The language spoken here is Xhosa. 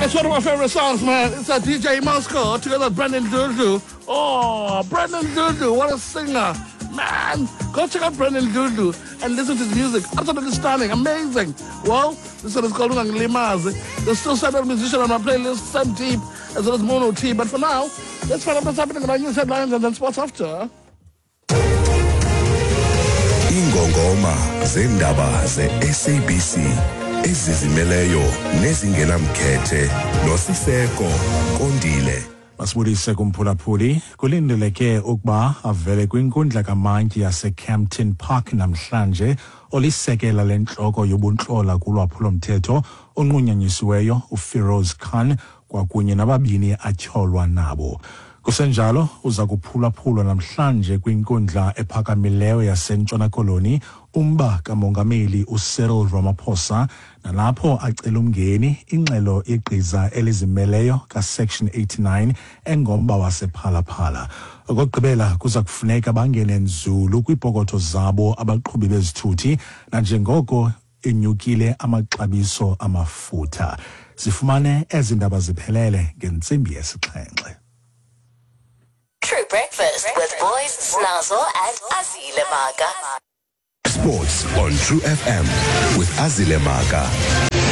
It's one of my favorite songs, man. It's a DJ Moscow together with Brandon Dudu. Oh, Brandon Dudu, what a singer. Man, go check out Brandon Dudu and listen to his music. Absolutely stunning, amazing. Well, this one is called Ungangilimazi. There's still several musicians on my playlist, Sam Deep, as well as Mono T. But for now, let's find out what's happening in our news headlines and then sports after. Ingongoma zendaba ze-SABC ezizimeleyo nezingenamkhethe noSiseko Kondile. Masibulise kumphulaphuli. Kulindeleke ukuba avele kwinkundla kamantyi yaseCampton Park namhlanje olisekela lentloko yobuntlola kulwaphulomthetho onqunyanyisiweyo uFiroz Khan kwakunye nababini atyholwa nabo. Kusenjalo uza kuphulaphulwa namhlanje kwinkundla ephakamileyo yaseNtshona Koloni umba kamongameli uCyril Ramaphosa nalapho acela umngeni ingxelo yegqiza elizimeleyo kaSection 89 engomba wasePhalaphala. Okokugqibela kuza kufuneka bangene nzulu kwiipokotho zabo abaqhubi bezithuthi nanjengoko enyukile amaxabiso amafutha. Sifumane ezi ndaba ziphelele ngentsimbi yesixhenxe. True Breakfast with Boys, Snazzle and Azile Maga. Sports on True FM with Azile Maga.